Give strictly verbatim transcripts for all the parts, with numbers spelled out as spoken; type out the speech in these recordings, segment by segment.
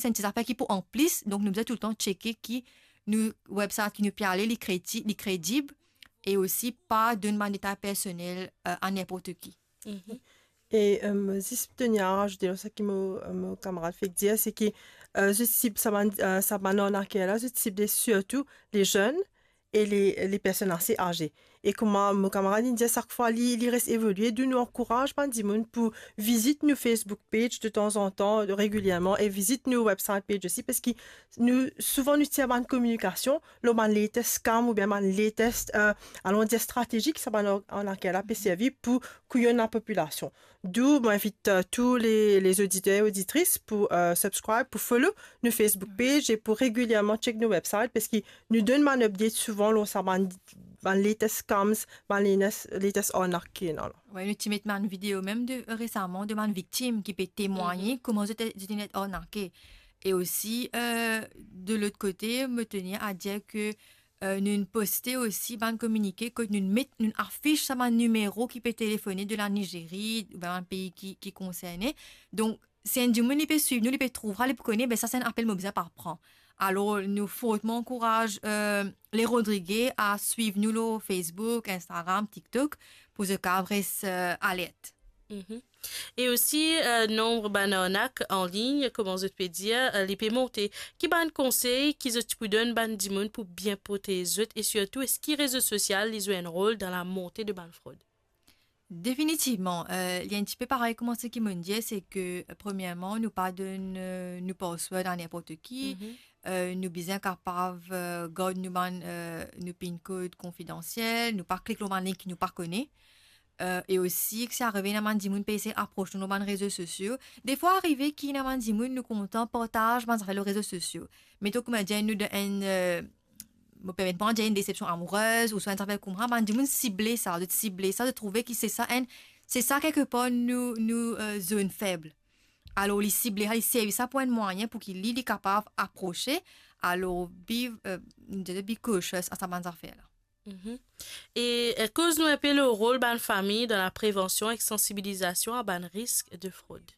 se enn ti zafer ki pou anplis, donk nou bizin toultan tcheke ki nou website ki nou pe ale, li kredi-, li kredib, e osi pa donn bann detay personel, eh, a ninport ki. Mhm. E, eh, zis pou tenir a razoute lor sa ki mo, eh, mo kamarad fek dir, se ki, eh, zot sib sa bann, eh, sa bann arnaker la, zot sible sirtou le zenn e le, le personn ase aze. E kouma mo kamarad inn dir, sak fwa li, li res evolie, donk nou ankouraz bann dimoun pou vizit nou Facebook page detanzantan, regilierman, e vizit nou website page osi, parski nou, souvan nou tir bann kominikasion lor bann latest scam oubien bann latest, eh, alon dir stratezi ki sa bann ar-, arnaker la pe servi pou kouyonn lapopilasion. Donk, mo invit, eh, tou le, le oditer e oditris pou, eh, subscribe, pou follow nou Facebook page e pou regilierman check nou website, parski nou donn bann update souvan lor sa bann, bann latest scams, bann latest, latest arnak ki ena la. Wi, nou ti met bann video mem de, resaman de bann viktim ki pe temwagne kouma zot, zot inn arnake. E osi, eh, de lot kote, mo tenir a dir ke, eh, nou poste osi bann kominike kot nou met, nou afis sa bann nimero ki pe telefone de la Nizerie, oubien bann pei ki, ki konserne. Donk, si enn dimoun li pe swiv nou, li pe trouv sa, li pou kone, be sa se enn apel mo bizin pa pran. Alor, nou fortman ankouraz, eh, le Rodrige a swiv nou lor Facebook, Instagram, TikTok, pou zot kapav res, eh, alert. Mhm. E osi, eh, nonb bann arnak an lign, kouma zot pe dir, eh, li pe monte. Ki bann konsey ki zot ti pou donn bann dimoun pou bien protez zot e sirtou, eski rezo sosial li zwe enn rol dan lamonte de bann frod? Definitivman, eh, li enn tipe parey kouma seki mo'nn dir, se ke, eh, premierman, nou pa donn, eh, nou password a ninport ki. Mhm. Eh, nou bizin kapav, eh, gard nou bann, eh, nou pin kod konfidansiel, nou pa klik lor bann link ki nou pa kone. Eh, e osi, ki si arive ena bann dimoun pe esey apros nou lor bann rezo sosio. Defwa arive ki ena bann dimoun nou kontan partaz bann zafer lor rezo sosio. Meton kouma dir nou dan enn, eh, mo permet mwa dir enn desepsion amourez, ouswa enn zafer koumsa, bann dimoun sible sa, zot sible sa, zot trouve ki se sa enn, se sa kelkepar nou, nou, eh, zonn feb. Alor, li sible sa, li servi sa pou enn mwayin pou ki li, li kapav aprose. Alor, be, eh, nou dir be cautious a sa bann zafer la. Mhm. E, eh, koz nou enpe lor rol bann fami dan laprevansion ek sansibilizasion a bann risk de frod.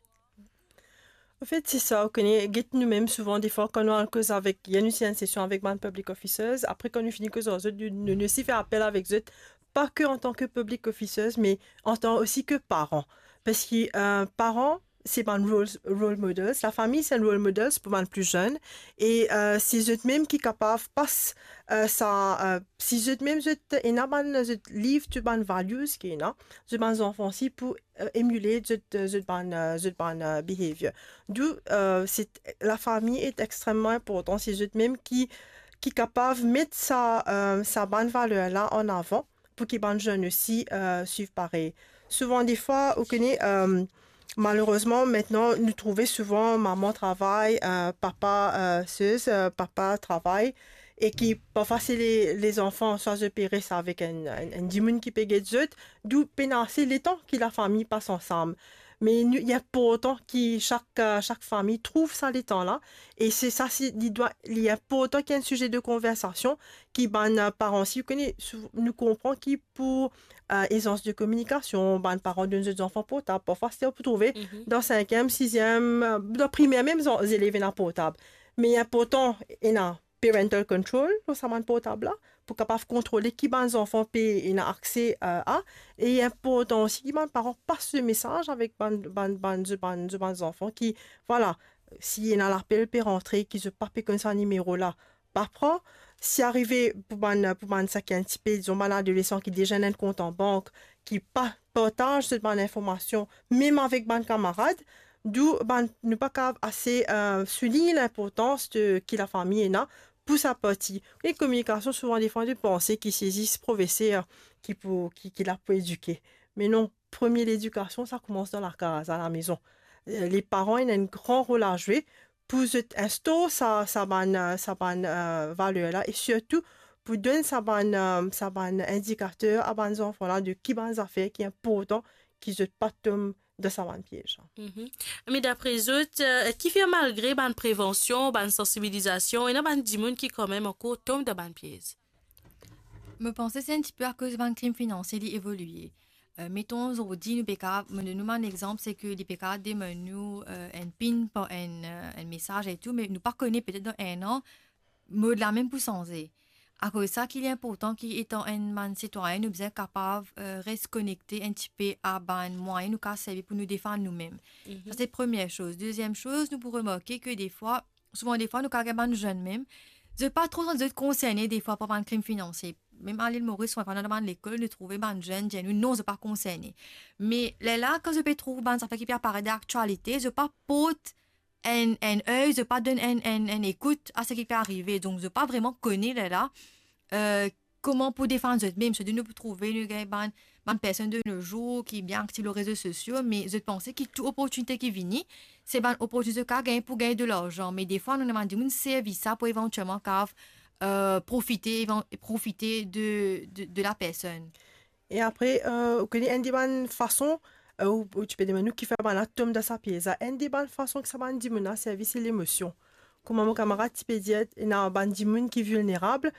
Anfet, se sa, ou kone, get nou mem souvan, defwa, kan nou al koz avek, ena nou ti enn sesion avek bann public officers, apre, kan nou fini koz ar zot, nou, nou, nou osi fer apel avek zot, pa ke antan ke public officers, me antan osi ke paran. Parski, eh, paran, se bann role, role models. Lafami, se enn role models pou bann pli zenn. E, eh, se zot mem ki kapav pas, eh, sa, eh, si zot mem zot ena bann, zot leave to bann values ki ena, zot bann zanfan osi pou, eh, emulate zot, zot bann, eh, zot bann, eh, behavior. Donk, eh, se lafami e extreman inportan, se zot mem ki, ki kapav met sa, eh, sa bann valer la an avan, pou ki bann zenn osi, eh, swiv parey. Souvan defwa, ou kone, eh, malerezman, aster nou trouve souvan mama travay, eh, papa, eh, sez, eh, papa travay, e ki parfwa se le, lezanfan, swa zot pe res avek enn, enn, enn dimoun ki pe get zot, donk pena ase letan ki lafami pas ansam. Me nou, li inportan ki sak, eh, sak fami trouv sa letan la. E se sa, se, li dwa, li inportan ki enn size de konversasion, ki bann, eh, paran, si ou kone, sou-, nou konpran ki pou, eh, ezans de kominikasion, bann paran donn zot zanfan portab. Parfwa, aster ou pou trouve, mhm, dan sinkiem, siziem, eh, dan primer mem, zan-, zelev ena portab. Me inportan, ena parental control lor sa bann portab la, pou kapav kontrole ki bann zanfan pe ena akse, eh, a. E inportan osi ki bann paran pas le mesaz avek bann, bann, bann, zot bann, zot bann zanfan ki, vwala, si ena lapel pe rantre, ki zot pa pe konn sa nimero la, pa pran. Si arive pou bann, pou bann sa ki enn tipe, dizon, bann adolesan ki deza ena enn kont an bank, ki pa partaz zot bann informasion, mem avek bann kamarad, donk bann, nou pa kapav ase, eh, soulign linportans de ki lafami ena pou sa parti. Oke, kominikasion, souvan defwa nou panse ki se zis profeser ki pou, ki, ki la pou edike. Me non, premie ledikasion, sa koumans dan lakaz, alamezon. Eh, leparan ena enn gran rol a zwe pou zot instor sa, sa bann, eh, sa bann, eh, valer la, e sirtou pou donn sa bann, eh, sa bann indikater a bann zanfan la de ki bann zafer ki inportan ki zot pa tom dan sa bann piez la. Mhm. Me dapre zot, eh, ki fer malgre bann prevansion, bann sansibilizasion, ena bann dimoun ki kanmem ankor tom dan bann piez? Mo panse se enn tipe akoz bann krim finansie li evolie. Euh, meton, zordi, nou pe kapav, mo donn nou bann exanp, se ke li pe kapav demann nou, euh, enn pin par enn, euh, enn mesaz e tou, me nou pa kone, petet dan enn an, mod la mem pou sanze. Akoz sa ki li inportan ki, etan enn bann sitwayin, nou bizin kapav, euh, res konekte enn tipe a bann mwayin nou kapav servi pou nou defann noumem. Mhm. Sa se premie soz. Deziem soz, nou pou remarke ke defwa, souvan defwa, nou kapav gagn bann zenn mem, zot pa tro santi zot konserne defwa par bann krim finansie. Mem a Lil Moris, souvan, dan bann lekol, nou trouve bann zenn dir nou, non, zot pa konserne. Me lerla, kan zot pe trouv bann zafer ki pe aparet dan laktialite, zot pa port enn, enn ey, zot pa donn enn, enn, enn ekout a seki pe arive. Donk, zot pa vreman kone lerla, euh, kouma pou defann zot mem. Sirtou nou pou trouve, nou gagn bann, bann personn de nos jours ki bien aktiv lor rezo sosio, me zot panse ki tou oportinite ki vini, se bann oportinite zot kapav gagn pou gagn de larzan. Me defwa, nou ena bann dimoun servi sa pou evantielman kapav, euh, profite, evan-, profite de, de, de la personn. E apre, euh, ou kone enn de bann fason, euh, ou, ou ti pe demann nou kifer bann la tom dan sa piez la. Enn de bann fason ki sa bann dimoun la servi, se lemosion. Kouma mo kamarad ti pe dir, ena bann dimoun ki vilnerab,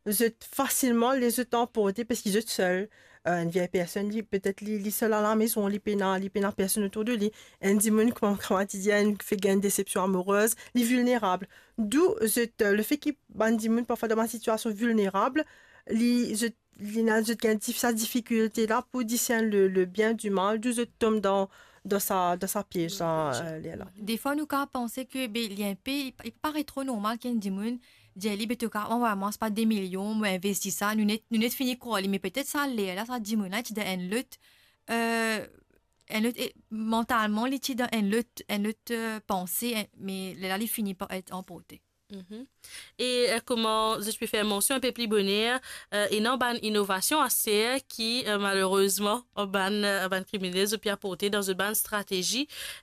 zot fasilman les zot anporte parski zot sel. Euh, enn vie personn, li, petet li, li sel alamezon, li pena, li pena personn otour de li. Enn dimoun, kouma mo kamarad ti dir, enn fek gagn desepsion amourez, li vilnerab. Dou zot, euh, lefe ki bann dimoun parfwa dan bann sitiasion vilnerab, li, zot li ena, zot gagn dif-, sa difikilte la pou discerne le, le bien du mal, dou zot tom dan, dan sa, dan sa piez la, euh, lerla. Defwa, nou kapav panse ke, be, li inpe, li, li paret tro normal ki enn dimoun dir li, be, to kapav anvway mwa, se pa, de milion, mo investi sa, nou net, nou net fini krwar li, me petet sa lerla, sa dimoun la, li ti dan enn lot, euh, enn lot, e, mantalman, li ti dan enn lot, enn lot, euh, panse, en-, me lerla, li fini par et anporte. Mhm. E, euh, kouma zot pe fer mansion inpe pli boner, euh, ena bann inovasion aster ki, euh, malerezman, bann, euh, bann kriminel, zot pe aporte dan zot bann stratezi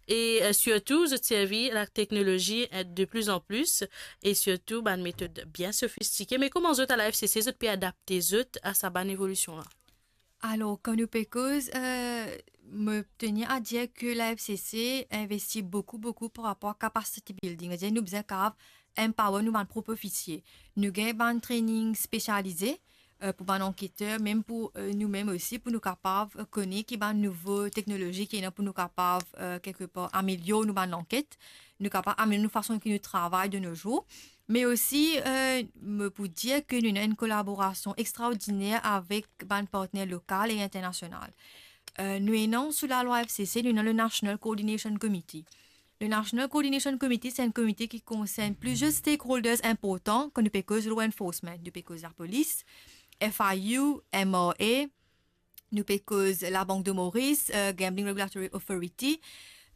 e, euh, sirtou, zot servi lateknolozi, euh, de plus en plus e sirtou bann metod bien sofistike. Me kouma zot, a la F C C, zot pe adapte zot a sa bann evolision la? Alor, kan nou pe koz, euh, mo tenir a dir ke la F C C investi boukou, boukou par rapor a capacity building. Savedir nou bizin kapav empower nou bann prop ofisie. Nou gagn bann training spesialize, euh, pou bann anketer, mem pou, euh, noumem osi, pou nou kapav, euh, kone ki bann nouvo teknolozi ki ena pou nou kapav, euh, kelkepar amelior nou bann lanket, nou kapav amelior nou fason ki nou travay de nos jours. Me osi, euh, mo pou dir ke nou ena enn kolaborasion extraordiner avek bann partner lokal e internasional. Euh, nou ena sou lalwa F C C, nou ena le National Coordination Committee. Le National Coordination Committee, se enn komite ki konsern plizier stakeholders inportan, kan nou pe koz law enforcement, nou pe koz lapolis, F I U, M R A, nou pe koz Labank de Maurice, euh, Gambling Regulatory Authority,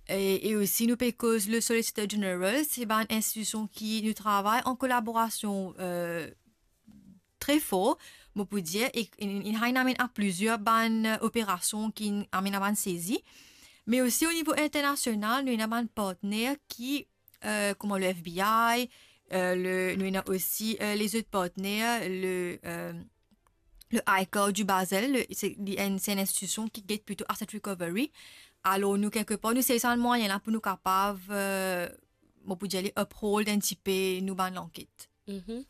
e, e osi nou pe koz le Solicitor General, se bann institision ki nou travay an kolaborasion, euh, tre for, mo pou dir, e, e, e inn amenn a plizier bann, euh, operasion ki inn amenn a bann sezi. Me osi o nivo internasional, nou ena bann partner ki, euh, kouma le F B I, euh, le, nou ena osi, euh, lezot partner, le, euh, le ICAR du Basel, le, se, li enn, se enn institision ki get plito asset recovery. Alor, nou, kelkepar, nou servi sa bann mwayin la pou nou kapav, euh, mo pou dir li uphold enn tipe nou bann lanket. Mhm.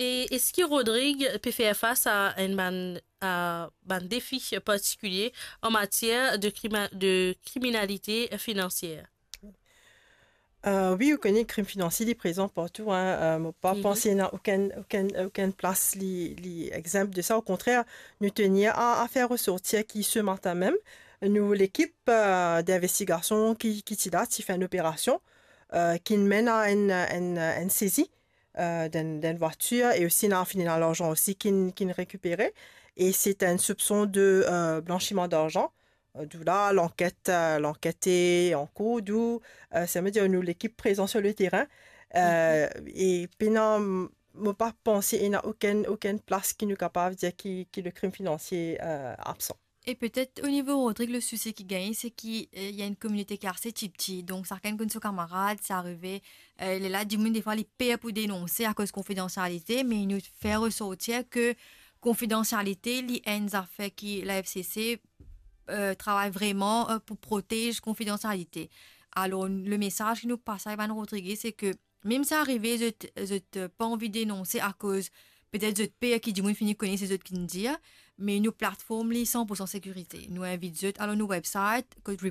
E eski Rodrigue pe fer fas a enn bann, a bann defi partikilie an matier de krima-, de kriminalite finansier? Euh, wi, ou kone krim finansie, li prezan partou, hein. Euh, mo pa panse ena okenn, okenn, okenn plas li, li exenp de sa. Okontrer, nou tenir a, a fer resortir ki se matin mem, nou lekip, euh, dinvestigasion ki, ki ti la, ti fer enn operasion, euh, ki menn a enn, enn, enn sezi, euh, d'enn, d'enn vwatir, e osi ena fini ena larzan osi ki, ki rekipere, e se enn soupson de, euh, blanchiman darzan. Euh, dou la, lanket, euh, lanket e ankour, dou, euh, sa ve dir nou lekip prezan sur le terrain. Euh, e pena, mo pa panse ena okenn, okenn plas ki nou kapav dir ki, ki le krim finansie, euh, absan. E petet o nivo Rodrigue, le sousi ki gagne, se ki, euh, ena enn kominote ki ase tipti. Donk, sakenn konn so kamarad, sa arive, euh, lerla dimoun, defwa, li per pou denonse akoz konfidansialite, me nou fer resortir ke konfidansialite, li enn zafer ki la F C C, euh, travay vreman, euh, pou protez konfidansialite. Alor, le mesaz ki nou pas a bann Rodrigue, se ke mem si arive zot, zot, euh, pa anvi denonse akoz petet zot per ki dimoun fini kone se zot ki'nn dir, Me nou platform li san pour san sekirite. Nou invit zot al lor nou website, kot